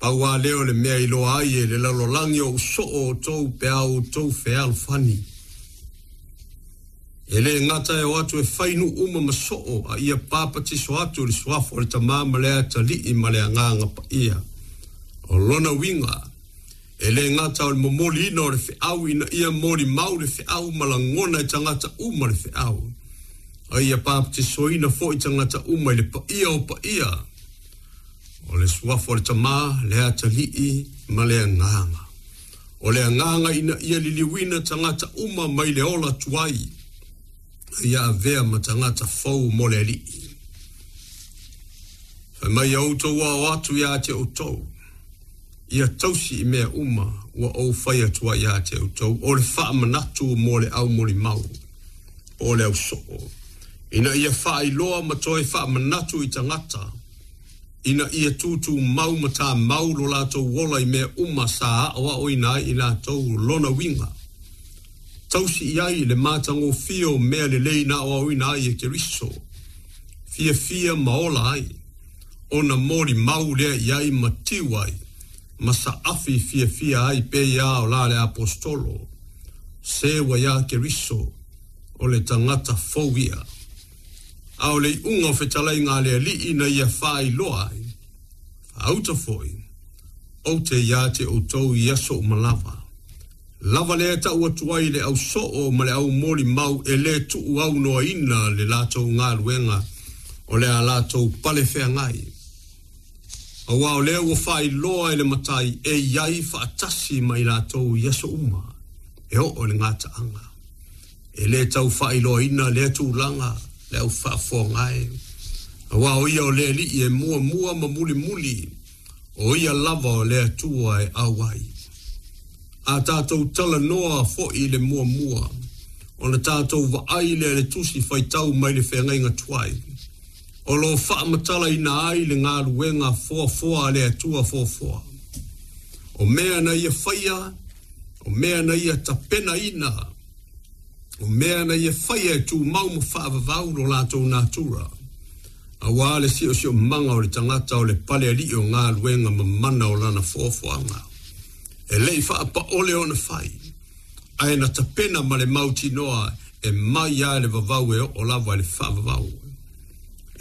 Pau lava lea o le mea e iloa ai e le lalolagi o ou soo outou pe a outou fealofani. E le gata e o atu e fai nuu uma ma soo, a ia papatiso atu i le suafa o le Tama ma le Atalii ma le Agaga Paia. O lona uiga, e le gata o le momoliina o le feau ina ia molimau le feau ma lagona e tagata uma le feau, a ia papatisoina foi tagata uma i le paia o paia, o le suafa o le Tama, le Atalii ma le Agaga. O le agaga ina ia liliuina tagata uma mai le ola tuai, a ia avea ma tagata fou mo le Alii. Fai mai ia outou ao atu iā te outou, ia tausi i mea uma ua ou fai atu ai iā te outou, o le faamanatu mo le au molimau, po o le au soo, ina ia faailoa ma toe faamanatu i tagata, ina ia tūtūmau ma tāmau lo latou ola i mea uma sa aʻoaʻoina ai i latou lona uiga. Tausi i ai le matagofie o mea lelei na aʻoaʻoina ai e Keriso, fiafia ma ola ai, ona molimau lea i ai ma tiu ai, ma saafi fiafia ai pei a o la le Aposetolo, se ua iā Keriso, o le tagata fou ia. A o le iuga o fetalaiga a le Alii na ia faailoa ai, faauta foi, ou te iā te outou i aso uma lava. Lava lea e tau atu ai le au soo ma le au molimau e le tuu aunoaina le latou galuega o le a latou pale feagai. Aua o lea ua faailoa e le Matai e i ai faatasi ma i latou i aso uma e oo i le gataaga. E le tau faailoaina lea tulaga le au faafofoga e, aua o ia o le Alii e muamua ma mulimuli, o ia lava o le Atua e au ai. A tatou talanoa foi i le muamua, ona tatou vaai lea i le tusi faitau mai le feagaiga tuai, o lo o faamatalaina ai le galuega foafoa a le Atua foafoa. O mea na ia faia, o mea na ia tapenaina, O mea na ia faia e tumau ma faavavau lo latou natura, aua le siosiomaga o le tagata o le pale alii o galuega ma mana o lana foafoaga. E le i faapaole ona fai, ae na tapena ma le mautinoa e mai a le vavau e oo lava i le faavavau.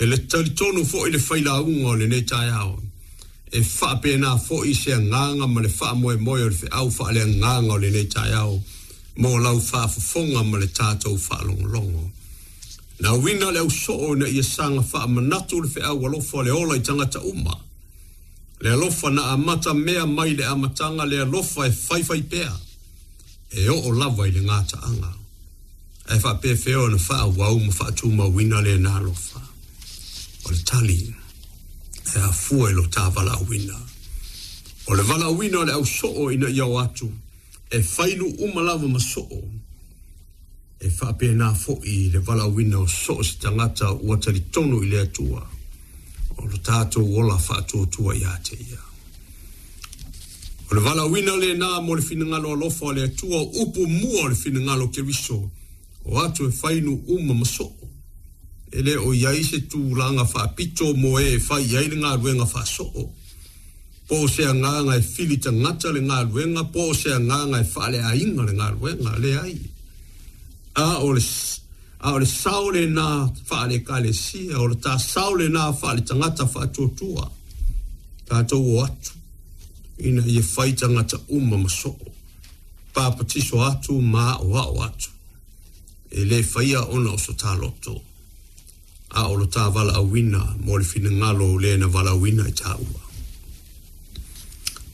E le talitonu foi le failauga o lenei taeao, e faapena foi se agaga ma le faamoemoe o le feau faaleagaga o lenei taeao mo lau faafofoga ma le tatou faalogologo. Na uiga le au soo ina ia saga faamanatu le feau alofa o le ola i tagata uma. Le alofa na amata mea mai le amataga le alofa e faifai pea, e oo lava i le gataaga. Ae faapefea ona faaauau ma faatumauina lena alofa? O le tali, e afua i lo ta valaauina. O le valaauina o le au soo ina ia o atu, e fai nuu uma lava ma soo. E faapena foi le valaauina o so o se tagata ua talitonu i le Atua, o lo tatou ola faatuatua ia te ia. O le valaauina lena mo le finagalo alofa o le Atua, o upu mua o le finagalo o Keriso, o atu e fai nuu uma ma soo. E le o i ai se tulaga faapito mo e e fai i ai le galuega faasoo. Po o se agaga e fili tagata le galuega, po o se agaga e faaleaiga le galuega, leai. A o le, a o le sao lena faale-Ekalesia, o le ta sao lena faale-tagata faatuatua, tatou o atu ina ia fai tagata uma ma soo, papatiso atu ma aʻoaʻo atu. E le faia ona o so ta loto, a o lo ta valaauina mo le finagalo o le na valaauina i taua.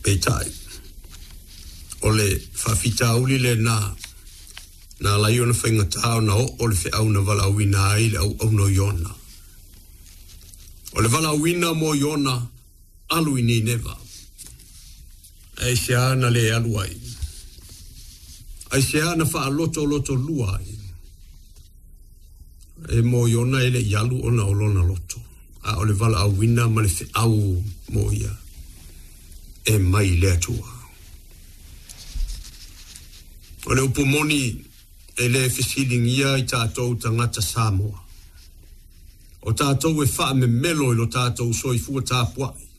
Peitai, o le faafitauli lena na ala ai ona faigata ona oo le feau na valaauina ai le auauna o Iona. O le valaauina mo Iona, alu i Nineva. Aisea na le alu ai? Aisea na faalotolotolua ai? E mo Iona e le i alu ona o lona loto, a o le valaauina ma le feau mo ia e mai le Atua. O le upu moni e le fesiligia i tatou tagata Samoa. O tatou e faamemelo i lo tatou soifua tapuai.